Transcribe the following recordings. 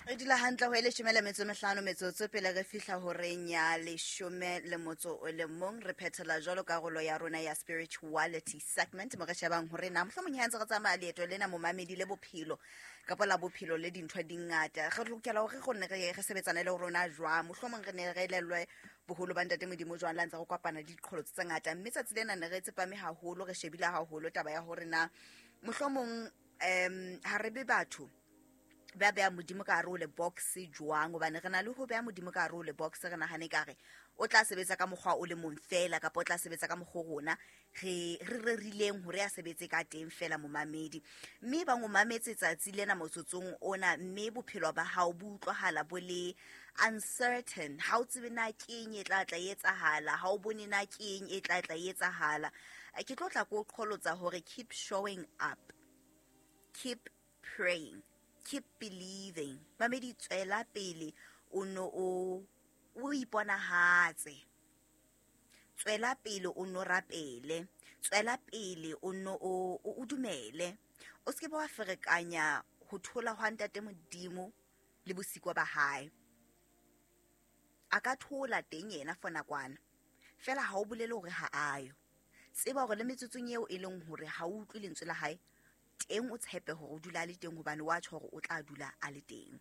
Re dula hantle ho e 15 metsotso pele re fihla horeng ya 11. Re phethela jwalo karolo ya rona ya spirituality segment, mo re shebang hore na mohlomong ha ntse re tsamaya leeto lena, momamedi, le bophelo kapa la bophelo le dintho di ngata, re lokela hore gonne re sebetsane le rona jwang. Mohlomong re ne re elellwe boholo ba Ntate Modimo jwang la ntse re kopana le diqholotso tse ngata. Mme tsatsi lena ne re tsepame haholo, re shebile haholo taba ya hore na mohlomong ha re be batho ba beha Modimo ka hare ho le box jwang, hobane re na le ho beha Modimo ka hare ho le box, re nahane ka re o tla sebetsa ka mokgwa o le mong fela, kapa o tla sebetsa ka mokgwa o rona re rerileng hore a sebetse ka teng fela, momamedi. Mme ba o mametse tsatsi lena motsotsong ona, mme bophelo ba hao bo utlwahala bo le uncertain, ha o tsebe na keng e tla tla e etsahala, ha o bone na keng e tla tla e etsahala. Ke tlo tla ko qholotsa hore keep showing up, keep praying, keep believing. Mamedi, tswela pele o no o iponahatse, tswela pele o no rapele, tswela pele o no o dumele. O se ke ba wa ferekanya ho thola hwa Ntate Modimo le bosiko ba hae. A ka thola teng yena for nakwana fela, ha o bolele hore ha ayo. Tseba hore le metsotsong eo e leng hore ha o utlwe lentswe la hae teng, o tshepe hore o dula a le teng, hobane wa tjho hore o tla dula a le teng.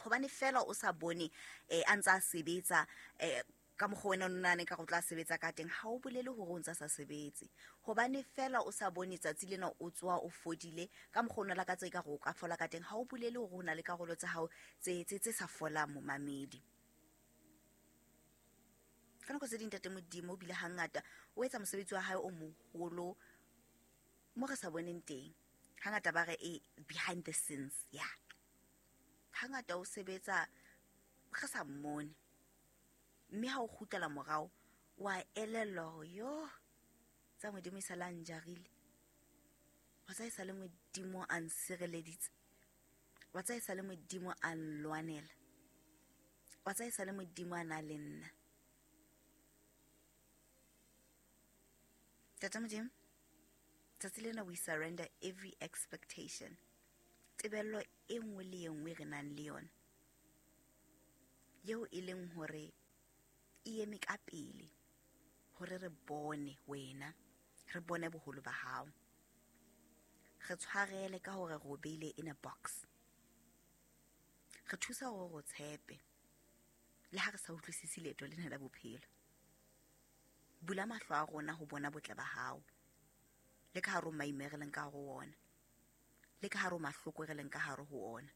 Hobane fela o sa bone a ntse a sebetsa ka mokgwa wena o nahane ka re o tla sebetsa ka teng, ha o bolele hore o ntse a sa sebetse. Hobane fela o sa bone tsatsi lena o tsoha o fodile ka mokgwa o no lakatsa e ka re o ka fola ka teng, ha o bolele hore ho na le karolo tsa hao tse sa folang, momamedi. Ka nako tse ding Ntate Modimo o bile hangata o etsa mosebetsi wa hae o moholo mo re sa boneng teng. Hangata ba re e behind the scenes, ya hangata o sebetsa re sa mmone, mme ha o kgutlela morao wa elellwa hore yo tsa Modimo e sale a njarile, wa tsa e sale Modimo a nsireleditse, wa tsa e sale Modimo a nlwanela, wa tsa e sale Modimo a na le nna. Tata Modimo, tsatsi lena we surrender every expectation, tebello e nngwe le e nngwe re nang le yona eo e leng hore e eme ka pele hore re bone wena, re bone boholo ba hao. Re tshwarele ka hore re o beile in a box. Re thusa hore re o tshepe le ha re sa utlwisise leeto lena la bophelo. Bula mahlo a rona ho bona botle ba hao le ka hare ho maime re leng ka hare ho ona, le ka hare ho mahloko re leng ka hare ho ona.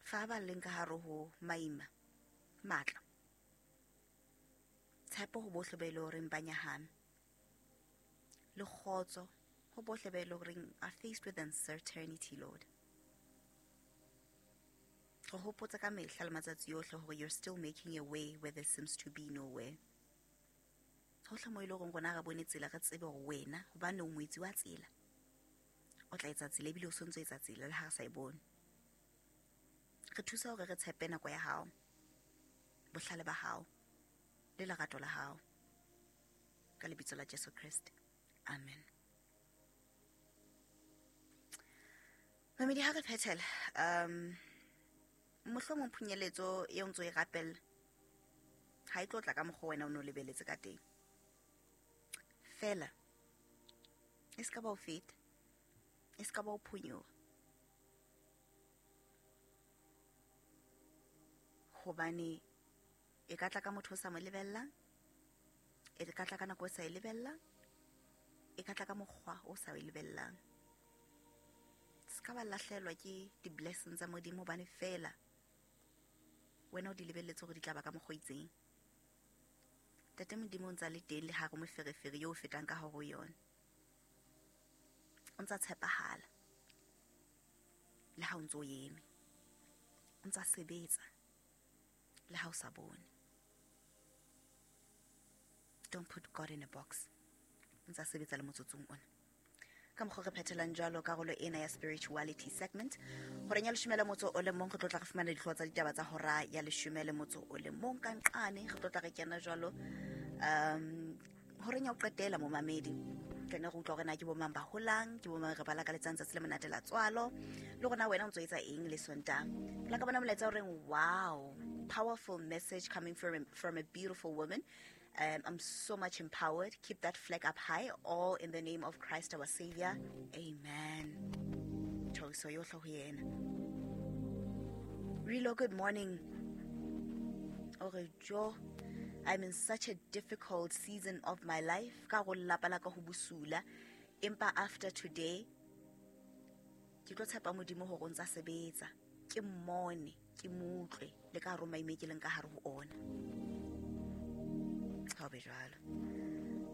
Fa ba leng ka hare ho maima matla, tshepo ho bohle ba e le horeng ba nyahame, le kgotso ho bohle ba e le horeng are faced with uncertainty. Lord, re hopotsa ka mehla le matsatsi yohle hore you're still making a way where there seems to be no way. Hohle mo e le horeng rona re bone tsela, re tsebe hore wena, hobane o moetsi wa tsela, o tla etsa tsela, ebile o sontso etsa tsela le ha re sa e bone. Re thusa hore re tshepe nako ya hao, bohlale ba hao le lerato la hao, ka lebitso la Jesu Kriste, amen. Mamedi, ha re phethela, mohlomong phunyeletso eo ntso e rapella ha e tlo tla ka mokgwa wena o ne o lebeletse ka teng, fela e se ka ba o feta, e se ka ba o phonyoha, hobane e ka tla ka motho o sa mo lebellang, e ka tla ka nako o sa e lebellang, e ka tla ka mokgwa o sa e lebellang. Se ka ba lahlehelwa ke di-blessings tsa Modimo hobane fela wena o di lebelletse hore di tla ba ka mokgwa o itseng. Tate Modimo o ntsa le teng le hare moferefere yo o fetang ka hare ho yona. O ntsa tshepahala le ha o ntso o eme, o ntsa sebetsa le ha o sa bone. Don't put God in a box. O ntsa sebetsa le motsotsong ona. Ka mokgwa re phethelang jwalo karolo ena ya spirituality segment horeng ya 11, re tlo tla re fumana dihlooho tsa ditaba tsa hora ya 11 ka nqane. Re tlo tla re kena jwalo horeng ya ho qetela, momamedi. Tlene re utlwa hore na ke bomang ba holang, ke bomang re ba lakaletsang tsatsi le monate la tswalo, le rona wena o ntso etsa eng le Sontaha. La ka bona molaetsa o reng, wow, powerful message coming from a beautiful woman. I'm so much empowered. Keep that flag up high, all in the name of Christ our Savior. Amen. Thoriso yohle ho yena. Relo, good morning. Ore jo, I'm in such a difficult season of my life. Ka go lelapa la ka ho bosula. Empa after today, ke tlo tshepa Modimo hore o ntsa sebetsa. Ke mmone, ke mo utlwe, le ka hare ho maime ke leng ka hare ho ona. Ha o be jwalo.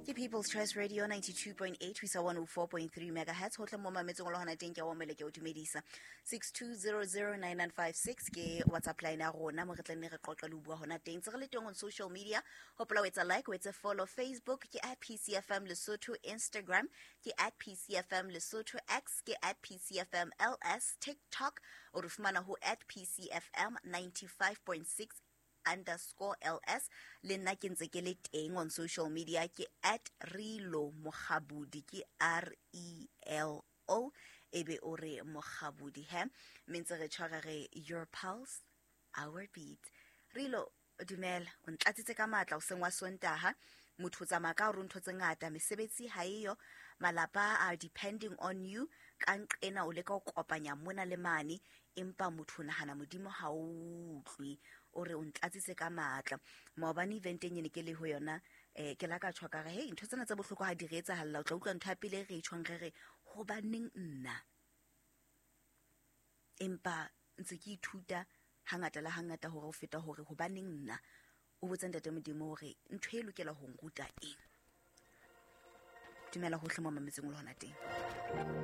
Ke People's Choice Radio 92.8 ho isa 104.3 megahertz. Hohle mo mametseng o le hona teng, ke a o amohela, ke a o dumedisa. 62009956 ke WhatsApp line ya rona mo re tla nne re qoqe le ho bua hona teng. Tse re le teng on social media, hopola o etsa like, o etse follow. Facebook ke at PCFM Lesotho, Instagram ke at PCFM Lesotho, X ke at PCFM LS, TikTok o re fumana ho at PCFM 95.6 underscore LS. Le nna ke ntse ke le teng on social media, ke at Relo Mokgabudi, ke R E L O, ebe o re Mokgabudi he. Mme ntse re tshwara re your pulse, our beat. Relo, dumela, o ntlatsitse ka matla o seng wa Sontaha. Motho o tsamaya ka hore ntho tse ngata, mesebetsi ha eyo, malapa are depending on you. Ka nqena o leka ho kopanya mona le mane, empa motho o nahana Modimo ha o utlwe. O re o ntlatsitse ka matla. Maobane eventeng e ne ke le ho yona, ke la ka tjho ka re, hey, ntho tsena tse bohloko ha di re etsahalla, o tla utlwa ntho ya pele e re e tjhong re re, hobaneng nna? Empa ntse ke ithuta hangata le hangata hore ho feta hore hobaneng nna, o botsa Ntate Modimo hore ntho e lokela ho nruta eng. Dumela hohle mo mametseng o le hona teng.